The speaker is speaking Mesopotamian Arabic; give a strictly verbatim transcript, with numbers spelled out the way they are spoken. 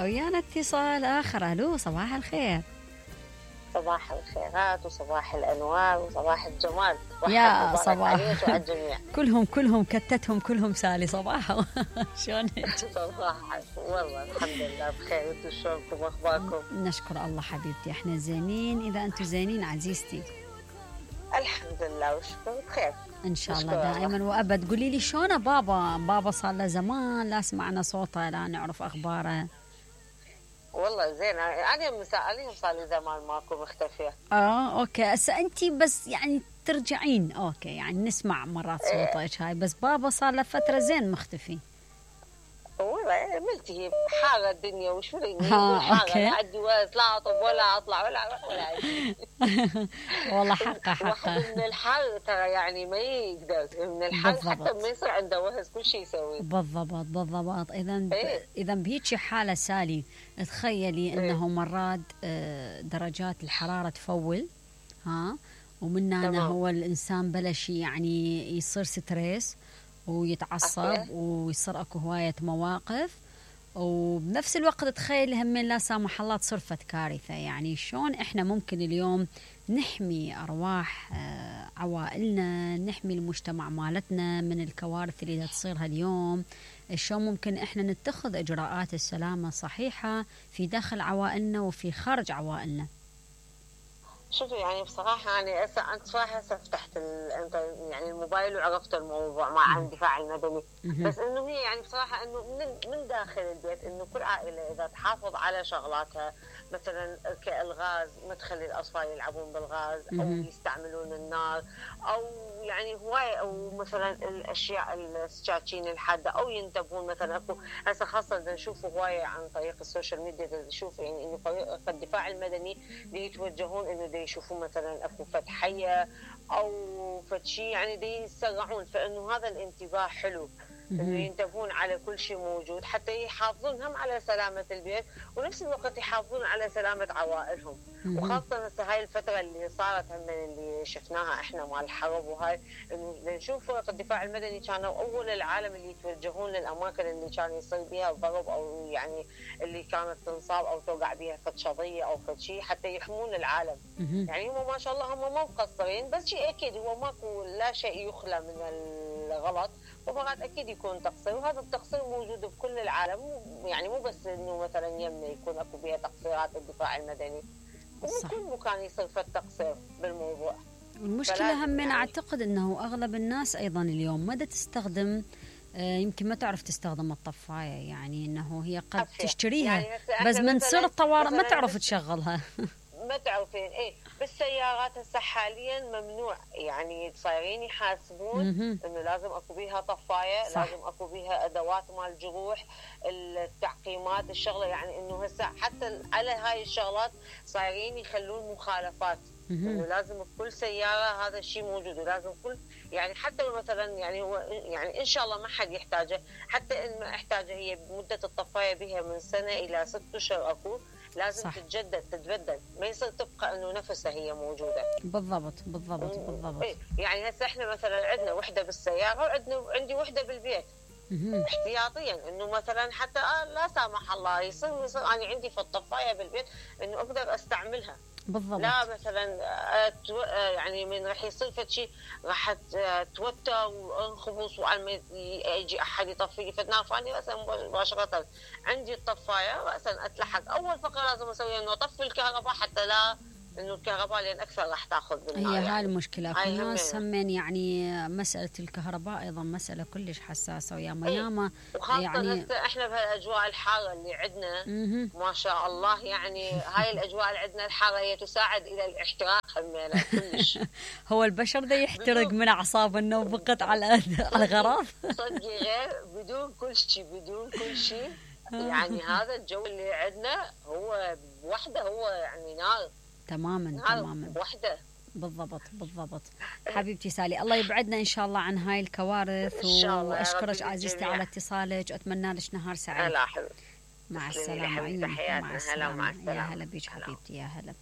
ويانا اتصال آخر. ألو، صباح الخير. صباح الخيرات وصباح الأنوار وصباح الجمال. يا صباح عليك وعلى الجميع. كلهم كلهم كتتهم كلهم سالي صباح. شلونك؟ صباح والله الحمد لله بخير. انتم شلونكم اخباركم؟ نشكر الله حبيبتي، احنا زينين. إذا أنتم زينين عزيزتي. الحمد لله وشكرا بخير إن شاء الله دائما وأبد. قولي لي شلون بابا؟ بابا صار له زمان لا سمعنا صوته لا نعرف أخباره. والله زين، أنا مسائلين صار لي زمان ماكو مختفية. اه اوكي، هسه انت بس يعني ترجعين اوكي، يعني نسمع مرات صوتك هاي، بس بابا صار له فترة زين مختفي. والله ملتهي حالة الدنيا وش فيني ها اوكي. لا عندي وقت لا اطب ولا اطلع ولا اروح ولا اجي. والله حقه حقه. واحد من الحال ترى يعني ما يقدر من الحال بالضبط. حتى ما يصير عنده وهز كل شيء يسوي. بالضبط بالضبط. اذا ب... إيه؟ اذا بهيك حالة سالي تخيلي انه مرات آه، درجات الحرارة تفول، ها، ومن هنا هو الانسان بلش يعني يصير ستريس ويتعصب أوكي. ويصير اكو هواية مواقف، وبنفس الوقت تخيل همين لا سامح الله تصير فت كارثة. يعني شلون احنا ممكن اليوم نحمي ارواح آه، عوائلنا، نحمي المجتمع مالتنا من الكوارث اللي تصيرها اليوم؟ شلون ممكن احنا نتخذ اجراءات السلامة الصحيحة في داخل عوائلنا وفي خارج عوائلنا؟ شوفي يعني بصراحة أنا هسه أنت صراحة هسه فتحت أنت يعني الموبايل وعرفت الموضوع مع الدفاع المدني، بس إنه هي يعني بصراحة إنه من من داخل البيت إنه كل عائلة إذا تحافظ على شغلاتها، مثلا كالغاز ما تخلي الأطفال يلعبون بالغاز أو يستعملون النار، أو يعني هواية، أو مثلا الأشياء السكاكين الحادة، أو ينتبهون مثلا أكو هسه خاصة نشوف هواية عن طريق السوشيال ميديا نشوف يعني إنه طريقة الدفاع المدني يتوجهون إنه دي يشوفون مثلا أكو فتحية أو فتشي يعني دي يسرعون، فإنه هذا الانتباه حلو إنه ينتبهون على كل شيء موجود حتى يحافظون هم على سلامة البيت ونفس الوقت يحافظون على سلامة عوائلهم. وخاصة هسه هاي الفترة اللي صارت هم اللي شفناها احنا مع الحرب وهاي، انه نشوف الدفاع المدني كانوا اول العالم اللي يتوجهون للاماكن اللي كان يصير بها ضرب او يعني اللي كانت تنصاب او توقع بها فد شظية او فد شيء حتى يحمون العالم. يعني هم ما شاء الله هم مو مقصرين، بس شيء اكيد هو ماكو لا شيء يخلى من الغلط، ومرات اكيد يكون تقصير، وهذا التقصير موجود بكل العالم، يعني مو بس انه مثلا يمنا يكون اكو بها تقصيرات الدفاع المدني، ومن كل مكان يصير في التقصير بالموضوع. المشكلة هم يعني أعتقد أنه أغلب الناس أيضا اليوم ما تستخدم، يمكن ما تعرف تستخدم الطفاية، يعني أنه هي قد تشتريها يعني بس من سر الطوارئ ما تعرف تشغلها. ما تعرفين ايه بالسيارات هسه حاليا ممنوع، يعني صايرين يحاسبون انه لازم اكو بيها طفايه، صح. لازم اكو بيها ادوات مال جروح، التعقيمات الشغله، يعني انه هسه حتى على هاي الشغلات صايرين يخلون مخالفات انه لازم بكل سياره هذا الشيء موجود، ولازم كل يعني حتى مثلا يعني هو يعني ان شاء الله ما حد يحتاجه، حتى ان ما احتاجه هي مده الطفايه بها من سنه الى ست اشهر اكو لازم صح. تتجدد تتبدل، ما يصير تبقى انه نفسها هي موجوده. بالضبط بالضبط بالضبط. يعني هسه احنا مثلا عندنا وحده بالسياره وعندنا عندي وحده بالبيت احتياطيا، انه مثلا حتى آه لا سامح الله يصير يصير انا عندي في الطفايه بالبيت انه اقدر استعملها. بالضبط. لا مثلا يعني من راح يصير فد شيء راح توتر وانخبص وعلى ما يجي احد يطفي في النار، فاني راسا مباشره عندي الطفايه راسا اتلحق اول فقره لازم اسويها انه اطفي الكهرباء حتى لا انه الكهرباء لان اكثر راح تاخذ بالنار. هي يعني. هاي المشكله في ناس همين يعني مساله الكهرباء ايضا مساله كلش حساسه ويا ميامه وخاصه يعني هسه احنا بهالاجواء الحاره اللي عندنا ما شاء الله، يعني هاي الاجواء اللي عندنا الحاره هي تساعد الى الاحتراق همينه كلش. هو البشر ده يحترق من اعصاب انه بقت على على غراض صدقي غير بدون كل شيء بدون كل شيء يعني هذا الجو اللي عندنا هو بوحده هو يعني نار تماما تماما وحده. بالضبط بالضبط. حبيبتي سالي الله يبعدنا ان شاء الله عن هاي الكوارث، واشكرك عزيزتي على اتصالك، اتمنى لك نهار سعيد. لا حبيبتي مع السلامه. مع السلامه. يا هلا بيك حبيبتي، يا هلا.